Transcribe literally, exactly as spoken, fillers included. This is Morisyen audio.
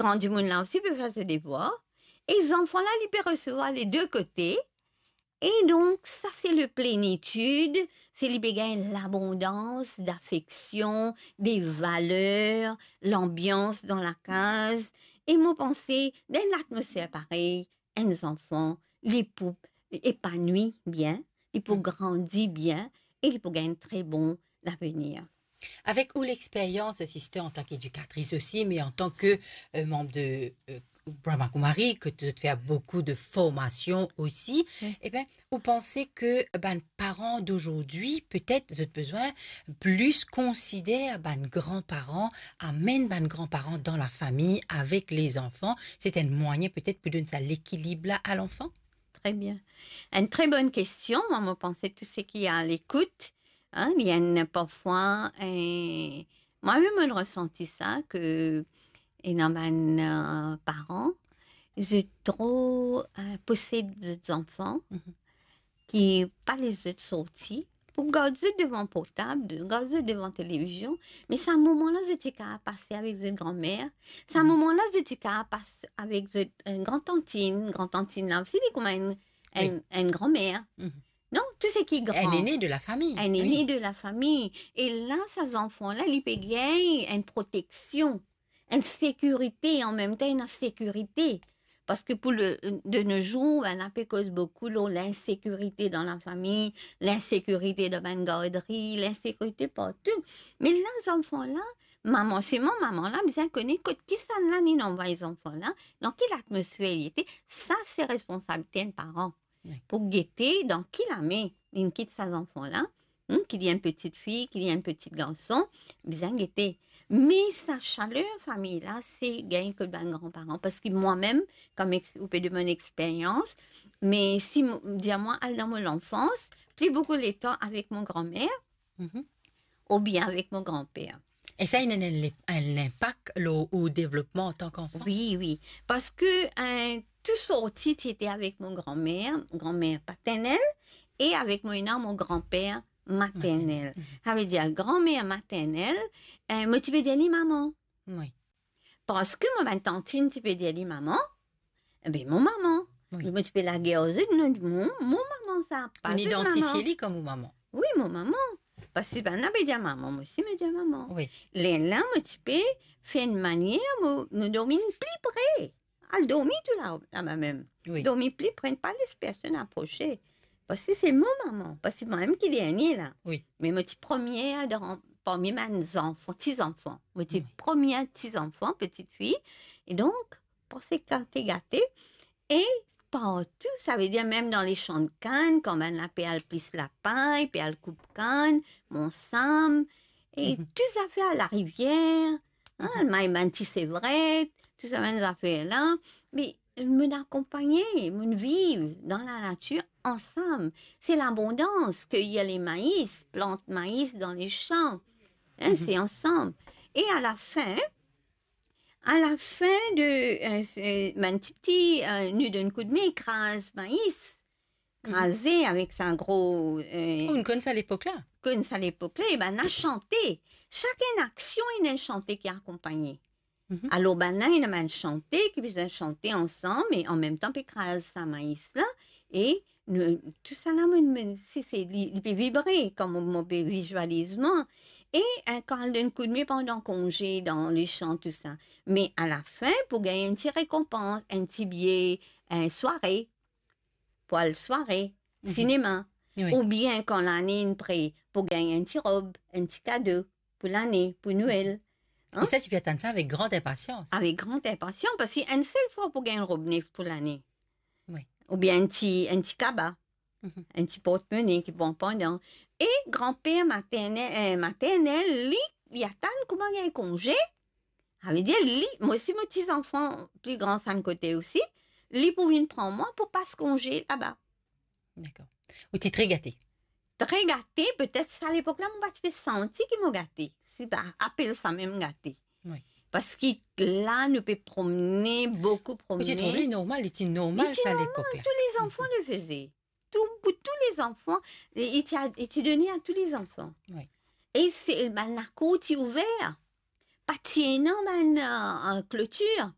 gran dimoun la osi pe fer so devwar, e zanfan la, li pe resevwar le de kote, e donk, sa se le plenitid, se li pe gagn labondans dafeksion, de valer, lanbians dan lakaz, e mo panse, dan enn latmosfer parey, enn zanfan, li pou epanwi bien, li pou grandi bien e li pou gagn tre bon lavenir. Avek ou lexperyans, sister, antan ki edikatris osi, me antan ki, eh, manb de, eh, Brahma Kumari, ki zot fer boukou de formasion osi, wi, ebe, ou panse ki bann paran dozordi, petet zot bizin plis konsider bann granparan, amenn bann granparan dan lafami avek lezanfan, se enn mwayin petet pou donn sa lekilib la a lanfan? Tre bien. Enn tre bonn kestion. Mwa, mo panse tou seki a lekout, hein, li enn parfwa, eh, mwa mem, mo resanti sa, ki ena bann, eh, paran, zot tro, eh, posed zot zanfan, mhm, ki pa les zot sorti, pou gard zot devan portab, gard zot devan televizion, me sa moman la, zot ti kapav pase avek zot granmer, sa, mhm, moman la, zot ti kapav pase avek zot, eh, grantantinn, grantantinn la osi, li kouma enn, enn, wi, enn granmer. Mhm. Non, tou seki gran. Enn ene de lafami. Enn ene, wi, de lafami. E la, sa zanfan la, li pe gagn enn proteksion, enn sekirite, an mem tan, enn sekirite. Parski pou le, de nos jours, bann la pe koz boukou lor linsekirite dan lafami, linsekirite dan bann gardri, linsekirite partou. Me la, zanfan la, mama, se mama la bizin kone kot kisannla linn anvway zanfan la, dan ki latmosfer li ete, sa se responsabilite enn paran. Wi. Pou gete dan ki lame linn kit sa zanfan la, hmm, ki li enn peti fi, ki li enn peti garson, bizin gete. Me sa saler fami la, se gagn kot bann granparan. Parski mwa mem, kom ex-, ou pe demann experyans, me si mo, dir mwa, al dan mo lanfans, pli boukou letan avek mo granmer, mhm, oubien avek mo granper. E sa inn ena enn, enn linpak lor ou devlopman antan ki zanfan? Wi, wi. Parski, eh, tou sorti ti ete avek mo granmer, granmer paternel, e avek mo ena mo granper maternel. Maternel. Mhm. Savedir, granmer maternel, eh, mo ti pe dir li mama. Wi. Parski mo bann tantinn ti pe dir li mama, ebe, mo mama. Wi. Mo ti pe lager ar zot, mo, mo, mo mama sa, pa zot mama. Ou inn idantifie li kom ou mama. Wi, mo mama. Parski bann la pe dir mama, mo osi mo dir mama. Wi. Lerla mo ti pe fer enn manier, mo, nou dormi pli pre. Al dormi tou la, laba mem. Wi. Dormi pli pre, pa les personn aprose. Parski se mo mama, parski mwa mem ki dernie la. Wi. Me mo ti premie dan, parmi bann zanfan, ti zanfan. Mo ti, wi, premie ti zanfan, peti fi. E donk, parski kan ti gate, e partou, savedir mem dan lesan kann, kan bann la pe al plis lapay, pe al koup kann, mo sam, e, mhm, tou zafer, larivier, hein, mhm, may bann ti sevret, tou sa bann zafer la. Me mo akonpagne, mo viv dan lanatir ansam. Se labondans, keyir lemais, plant mais dan lesan. Hein, mhm, se ansam. E alafin, alafin de, eh, se, bann tipti, eh, nou donn koudme, kraz mais. Mhm. Kraze avek sa gro, eh, oh, ou konn sa lepok la? Konn sa lepok la, e bann la sante. Sak enn aksion, ena enn sante ki akonpagne. Mhm. Alor, bann la, ena bann sante ki bizin sante ansam, e an mem tan pe kraz sa mais la, e nou, tou sa la, mo, mo, se, se, li, li pe vibre, kan mo, mo pe vizualiz mwa. E, eh, kan al donn koudme pandan konze dan lesan, tou sa. Me alafin, pou gagn enn ti rekonpans, enn ti biye, enn sware, pou al sware, mhm, sinema. Wi. Oubien kan lane inn pre, pou gagn enn ti rob, enn ti kado pou lane, pou Nwel. E sa, ti pe atann sa avek gran inpasians. Avek gran inpasians, parski enn sel fwa pou gagn rob nef pou lane. Wi. Oubien enn ti, enn ti kaba, mhm, enn ti portmone ki pran pandan. E granper materne-, eh, maternel, li, li atann kouma gagn konze. Savedir, li, mo osi, mo ti zanfan pli gran sa enn kote osi, li pou vinn pran mwa pou pas konze laba. Dakor. Ou ti tre gate? Tre gate, petet sa lepok la, mo pa ti pe santi ki mo gate. Si pa apel sa mem gate. Wi. Parski la, nou pe promne, boukou promne. Ou ti trouv li normal, li ti normal sa lepok la? Li ti normal, tous les enfants le faisaient. Tou, pou tous les enfants, li ti a, li ti done a tous les enfants. Wi. E se, bann lakour ti ouver. Pa ti ena bann, eh, eh, klotir.